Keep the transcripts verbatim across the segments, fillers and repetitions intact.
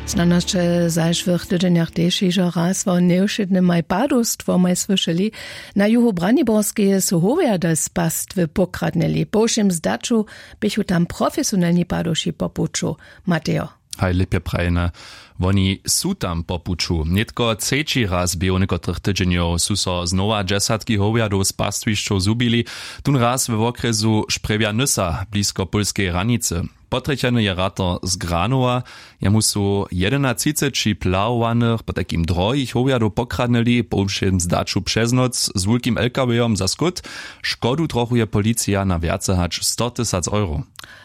Snano sće w zašłych tydźenjach tež hižo raz wo njewšědnymaj padowstwomaj słyšeli. Na juhu braniborskeje su howjady z pastwy pokradnyli, po wšěm zdaću běchu tam profesionelni padowši po puću. Matejo. Haj lěpje prajene. Woni su tam po puću. Nětko třeći raz běhu někotrych tydźenjow su so znowa dźesatki howjadow z pastwišćow zhubili. Tón raz we wokrjesu šprjewja nysa blisko pólskeje hranicy. Potrjecheny je ratar z granowa. Jemu su jedenatřiceći plahowanych potajkim drohich howjadow pokradnyli po wšěm zdaću přez noc z wulkim lkawejom za skót. Škodu trochuje policija na wjace hač sto tysac euro.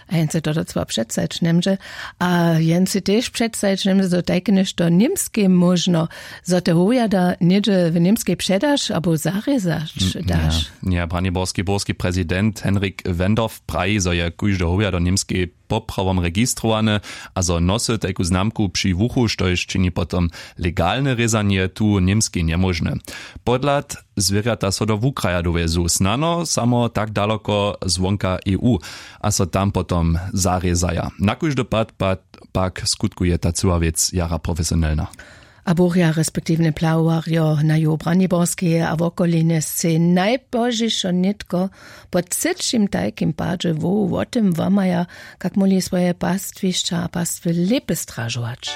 A jen se to docła předstajić njemdźe. A jen se tež předstajić njemdźe zo tajke něšto w němskej móžno, zo te howjada něhdźe w němskej předaš abo zarězać daš. Ja, braniborski burski prezident henrik wendorf praji zo je kóžde howjado w němskej poprawom registrowane, a zo nosy tajku znamku při wuchu štož čini potom legalne rězanje tu w němskej njemóžne. Podhlad zwěrjata so do wukraja do wjezu snano samo tak daloko zwonka eu, a so tam potom zarězaja na kóždy pad pad. Pak skutkuje ta cyła wěc jara profesionelna. A burja respektiwnje plahowarjo na juhu braniborskeje a wokolinje sej najpozdźišo nětko po třećim tajkim padźe wohu wo tym wamaja, kak móhli swoje pastwišća a pastwy lěpje stražować.